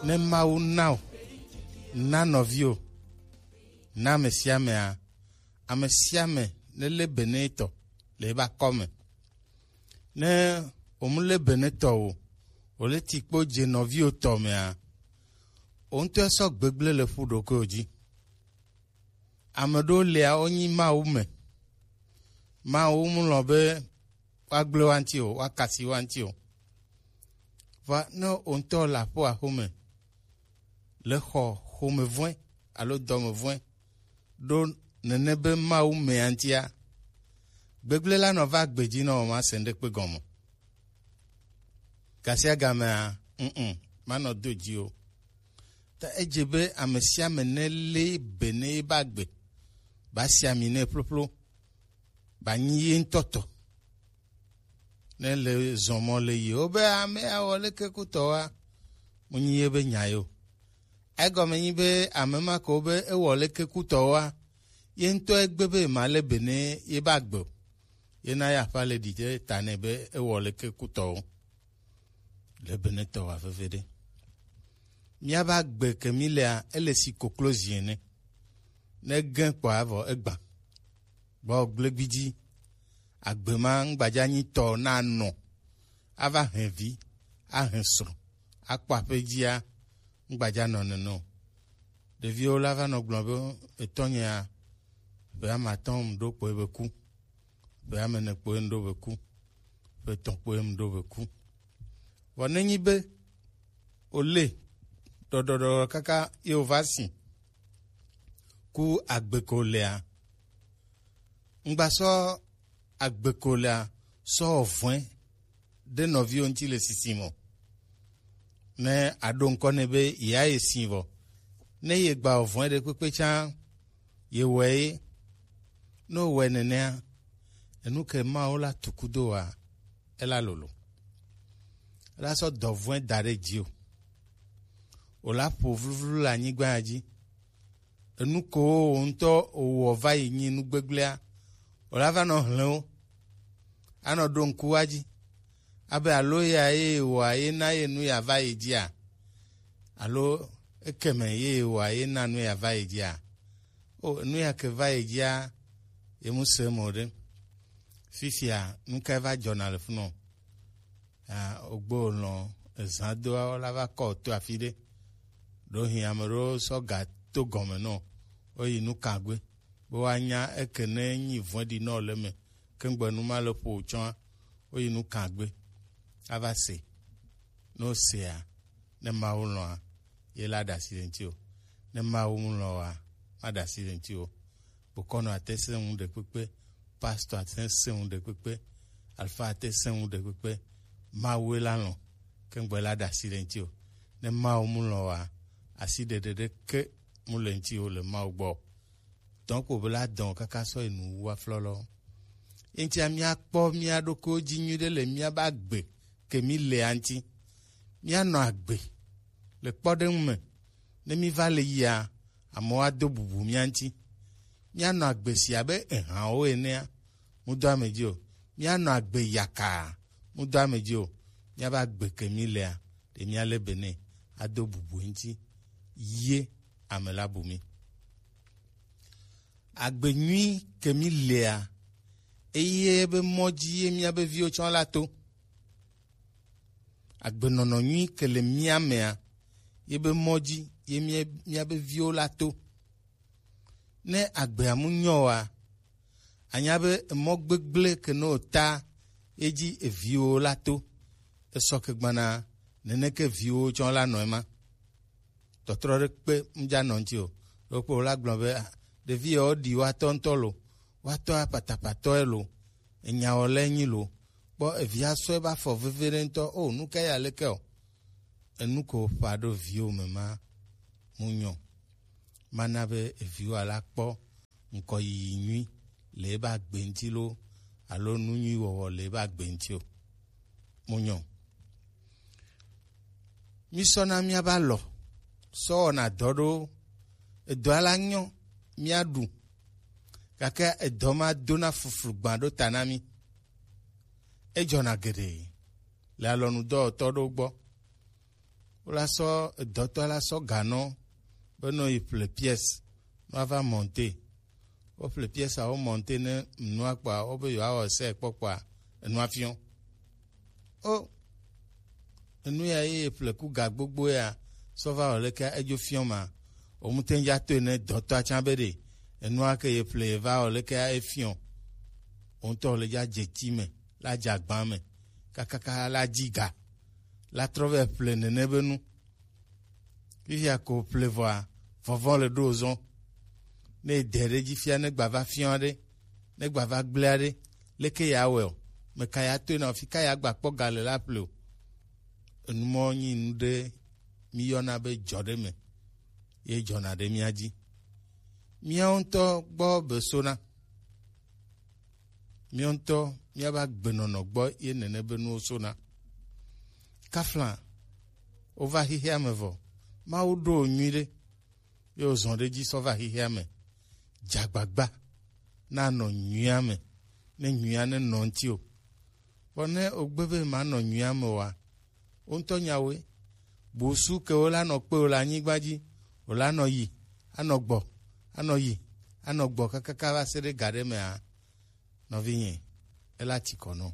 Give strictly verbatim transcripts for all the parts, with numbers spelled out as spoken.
Ne Mawu na o, na nɔviwo, na ame sia amea, ame sia ame ne lé be ne etɔ le ebe akɔ me. Ne wòmu lé be ne tɔ o, wòle ti kpo dze nɔviwo tɔ mea, wò ŋutɔ sɔ gbegblẽ le ƒu ɖokuiwò dzi. Ame ɖewo lia, wonyi Mawu me. Mawu mu lɔ̃ be woagblẽ wo ŋuti o, woakasi wo ŋuti o. Vɔa ne wò ŋutɔ le aƒo axome, le xɔ xomevɔ̃e alo dɔmevɔ̃e ɖo nene be Mawu mea ŋutia, gbegblẽ la nɔ va gbe dzi nɔ mase ŋɖekpe gɔme. Gasiagamea, mm, manɔ do dzi o. Ta edze be ame sia ame nelé be ne ebe agbe, ba si ami nɛ ƒloƒlo, ba nyi ye ŋutɔ tɔ. Ne le zɔmɔ le yi, wobe ame awɔ leke kutɔwoa, mu nyi ye be nya yo. Egɔme nyi be ame ma ko be ewɔ leke kutɔwoa, ye ŋutɔ egbe be ma le be ne ye ba gbe o. Ye na ya ƒa le ɖi ɖe ta nɛ be ewɔ leke kutɔwo. Le be ne tɔ wa veve ɖe. Míabe agbe ke mí lea, ele si koklozi ene. Ne gẽ kpɔa vɔ egbã. Gbɔ gble gbidzi. Agbe ma ŋgbadza nyi tɔ na nɔ. Ava hɛn vi, ahɛn srɔ̃, akpɔ aƒe dzia, ŋgbadza nɔ nene o. Ɖeviwo la va nɔ gblɔ be etɔnyea, ƒe ame atɔ̃ ŋu ɖo kpoe be ku. Ƒe ame ene kpoe ŋu ɖo be ku. Ƒe etɔ̃ kpoe ŋu ɖo be ku. Vɔ nenyi be wòle ɖɔɖɔɖɔɖɔ kaka ye wòva si ku agbe ko lea, ŋgba sɔ agbe ko lea sɔ wɔ vɔ̃e ɖe nɔviwo ŋuti le sisim o. Ne aɖo ŋkɔ nɛ be yeaye si vɔ, ne yegba wɔ vɔ̃e ɖekpekpe tsã, yewɔe ye. Ne wòwɔe nenea, enu ke Mawu la tu kudo wa, ela lolo. Ela sɔ dɔ vɔ̃e da ɖe dzi o. Wòla ƒo vluvlu le anyigba ya dzi. Enu ko wò ŋutɔ wòwɔ va yi nyi nu gbegblẽa, wòla va nɔ hlẽ wo. Anɔ ɖo ŋku wa dzi. Abe alo ya ye wòa ye na ye nu ya va yi dzia? Alo ekeme ye wòa ye na nu ya va yi dzia? O, nu ya ke va yi dzia, ye mu se mo ɖe. Fifia, nu kae va dzɔna le funɔ? Ah, ogbo lɔ̃ ezã doawo la va kɔ to afi ɖe. Ɖo hin ame ɖewo sɔ ga to gɔme nɔ, woyi nu kagbe. Be woanya eke ne nyi vɔ̃ɖi nɔ le me, ke ŋgbe nu ma le ƒo tsɔa, woyi nu kagbe. Ava se. Ne wosea, ne Mawu lɔ̃a, ye la ɖe asi le ŋuti o. Ne Mawu mu lɔ̃ oa, ma ɖe asi le ŋuti o. Bokɔnɔ ate sẽ ŋu ɖekpekpe, pastor ate sẽ ŋu ɖekpekpe, alfa ate sẽ ŋu ɖekpekpe. Mawu la lɔ̃, ke ŋgbe la ɖe asi le ŋuti o. Ne Mawu mu lɔ̃ oa, asi ɖeɖe ɖeke mu le ŋuti o le Mawu gbɔ. Dɔn ko be la dɔn kaka sɔ yi nu wu aflɔlɔ. Eŋtia míakpɔ mía ɖokuiwo dzi nyuiɖe le míabe agbe ke mí lea ŋuti. Míanɔ agbe le kpɔɖeŋu me. Ne míva le yia, amewo ado bubu mía ŋuti. Míanɔ agbe si abe ehãwo enea, mu do ame dzi o. Míanɔ agbe yakaa, mu do ame dzi o. Míabe agbe ke mí lea, ɖe míalé be nɛ ado bubu eŋuti ye ame la bu mí. Agbe nyui ke mí lea, eye be mɔ dzi ye míabe viwo tsɔ la to. Agbenɔnɔ nyui ke le mía mea, ye be mɔ dzi ye mía, míabe viwo la to. Ne agbea mu nyɔ oa, anya be emɔ gbegblẽ ke nɔ ta ye dzi eviwo la to. Esɔ ke gbana neneke viwo tsɔ la nɔ ema. Tɔtrɔ ɖe kpe ŋdza nɔ ŋuti o. Ɖokpo la gblɔ be, ah, ɖevi yawo ɖi woatɔ ŋutɔ lo, woatɔ apatapatɔe lo, enyawɔlae nyi lo. Kpɔ evia sɔe ba fɔ veve ɖe ŋutɔ. O, nu ka ya leke o? Enu ko ƒa ɖo viwo me ma mu nyɔ. Mana be eviwo ala kpɔ ŋkɔyiyi nyui le ebe agbe ŋuti lo, alo nu nyui wɔwɔ le ebe agbe ŋuti o. Mu nyɔ. Mísɔna míabe alɔ sɔ wɔna dɔ ɖo, edɔa la nyɔ, míaɖu, gake edɔ ma dona fuflu gbã ɖo ta na mí. Edzɔna geɖe le alɔnudɔwɔtɔ ɖewo gbɔ. Wola sɔ edɔtɔ la sɔ ganɔ be nɔ yi ƒle pièce nɔ ava monter. Wo ƒle pièce a wo monter ne nua kpa wo be yewoa wɔ sɛ kpɔ kpa enua fiɔ. O enu ya ye ƒle ku ga gbogbo ya sɔ va wɔ leke edzo fiɔ ma. O mu te ŋdza to ne dɔtɔ atsa be ɖe enua ke ye ƒle va wɔ leke efiɔ. O ŋutɔ le dza dze ti me la dze agba me kakaka la dzi ga la trɔ vɛ ƒle nene be nu. Fifia ko ƒle vɔa, vɔvɔ le ɖo zɔn. Ne dɛ ɖe dzi fia ne gba va fiɔ ɖe, ne gba va gblea ɖe, leke ya wɛ o? Me ka ya toe na o? Fi ka ya gba kpɔ ga le la ƒle o? Enu mɔ nyi nu ɖe mi yɔna be dzɔ ɖe me ye dzɔna ɖe mia dzi. Miawo ŋutɔ gbɔ be sona. Míawo ŋutɔ míabe agbenɔnɔ gbɔ ye nene be nuwo sona. Kafla wova xexea me vɔ, Mawu ɖo wò nyuiɖe ye wòzɔ ɖe edzi sɔ va xexea me. Dze agbagba nanɔ nyuia me, ne nyuia nenɔ ŋutiwò. Vɔ ne wògbe be manɔ nyuia me oa, wo ŋutɔ nyawoe. Busu ke wola nɔ kpe wò le anyigba dzi, wòla nɔ yi, anɔ gbɔ, anɔ yi, anɔ gbɔ kakaka va se ɖe ga ɖe mea, nɔvinye, ela ti kɔ nɔ.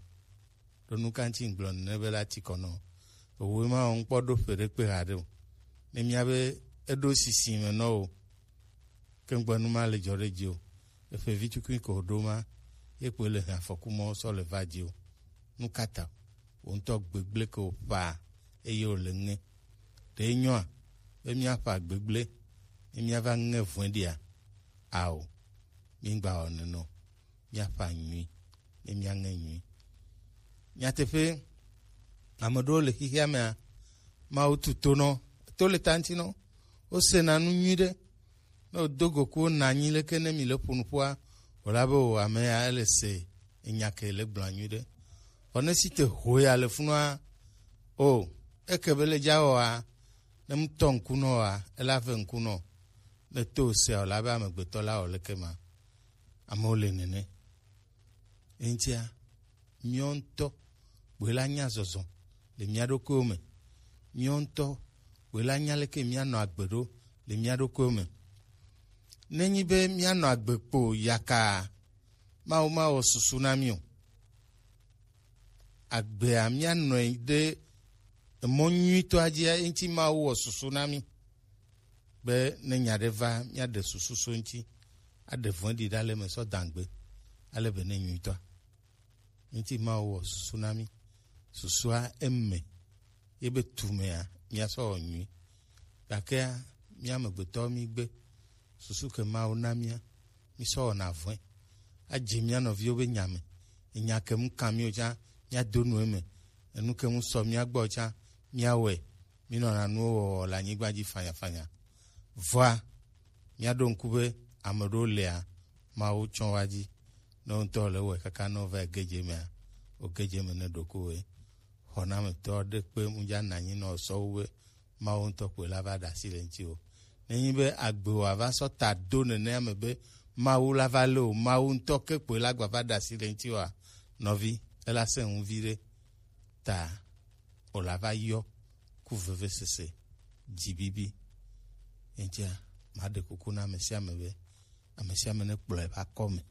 Ɖo nu ka ŋuti ŋgblɔ nene be ela ti kɔ nɔ? Owoe ma wɔ ŋkpɔ ɖo ƒe ɖe kpe haɖe o. Ne mía be eɖo sisi me nɔ o, ke ŋgbe nu ma le dzɔ ɖe dzi o. Eƒe vi tukui ko ɖo ma, ye kpoe le hɛn afɔku mɔ sɔ le va dzi o. Nu ka ta? Wò ŋutɔ gbegblẽ ke wòƒã eye wòle ŋe. Ɖe enyoa be míaƒã gbegblẽ ne míava ŋe vɔ̃ɖia? Ao, mígba wɔ nene o. Míaƒã nyui ne míaŋe nyui. Nyateƒe, ame ɖewo le xexea mea, Mawu tu to nɔ, to le ta ŋuti nɔ. Wosena nu nyui ɖe. Ne wòdo go ku wona anyi leke ne mi le ƒo nuƒoa, wòla be wò ame ya ele se enya ke le gblɔa nyui ɖe. Vɔ ne si te ho ya le funua, o, eke be le dza wɔa, ne mu tɔ ŋku nɔ wa, ela ve ŋku nɔ. Ne to o sea, wòla be amegbetɔ la wɔ leke ma. Amewo le nene. Eŋutia, míawo ŋutɔ kpoe la nya zɔzɔ le mía ɖokuiwo me. Míawo ŋutɔ kpoe la nya leke míanɔ agbe ɖo le mía ɖokuiwo me. Nenyi be míanɔ agbe kpo yakaa, Mawu mawɔ susu na mí o. Agbea míanɔe ɖe emɔ nyuitɔa dzia, eŋuti Mawu wɔ susu na mí. Be ne nya ɖe va, míaɖe susu so eŋuti, aɖe vɔ̃ɖi ɖa le eme sɔ dagbe, ale be ne nyuitɔa. Ŋuti Mawu wɔ susu na mí. Susua eme ye be tu mea, míasɔ wɔ nyui. Gakea, mía amegbetɔwo mígbe susu ke Mawu na mía, mísɔ wɔna vɔ̃e. Adze mía nɔviwo be nya me. Enya ke mu kan míwo tsã, míado nu eme. Enu ke mu sɔ mía gbɔ tsã, míawɔe. Mínɔna nuwo wɔwɔ le anyigba dzi fanyafanya. Vɔa, míaɖo ŋku be ame ɖewo lia, Mawu tsɔ wa dzi. Ne wo ŋutɔ le wɔe kaka ne wova yi gedze mea, wo gedze me ne ɖokuiwoe. Xɔnametɔ ɖe kpe ŋdza nɔ anyi nɔ sɔ wu be Mawu ŋutɔ kpoe la va ɖe asi le ŋutiwò. Nenye be agbe wòava sɔ ta do nenea me be Mawu la va lé o, Mawu ŋutɔ ke kpoe la gba va ɖe asi le ŋutiwòa, nɔvi, ela sẽ ŋu viɖe. Ta wòla va yɔ ku vevesese, dzibibi. Eŋutia, maɖe kuku na ame sia ame be, ame sia ame nekplɔ eƒe akɔme,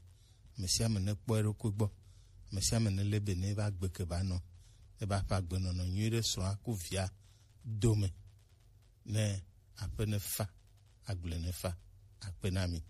ame sia ame nekpɔ eɖokui gbɔ, ame sia ame nelé be ne eva gbe ke ba nɔ, eva ƒe agbenɔnɔ nyui ɖe srɔ̃a ku via dome, ne aƒe nefa, agble nefa. Akpe na mi.